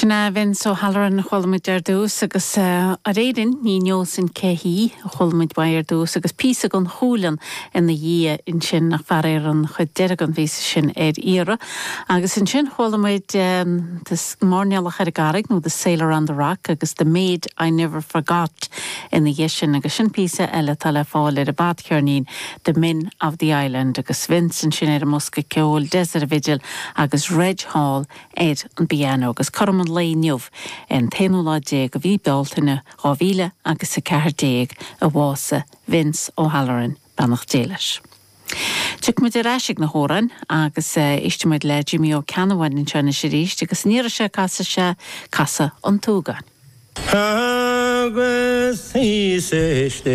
Sin é Vince O'Halloran a chuala muid ar dtús agus aréirin ní neosainn cé hí a chuala muid uaidh ar dtús agus píosa den Chualann ina dhiaidh ansin ach faraor an chuid deiridh den phíosa sin ar iarraidh. Agus ansin chuala muid The Mairnéalach ar an gCarraig nó The Sailor on the Rock agus The Maid I Never Forgot ina dhiaidh sin agus sin píosa eile atá le fáil ar an bhfadcheirnín The Men of the Island agus Vince ansin ar an mbosca ceoil, Des ar an bhfidil agus Reg Hall ar an bpianó agus cothrom an lae inniu, an t-aonú lá déag de mhí Bealtaine 2000 agus 14 a bhásaigh Vince O'Halloran, beannacht Dé leis. Tiocfaidh muid ar ais ag na hamhráin agus éistfidh muid le Jimí Ó Ceannabháin anseo anois arís agus an iarraidh seo casfaidh sé Casadh an tSúgáin. Agus thíos istigh.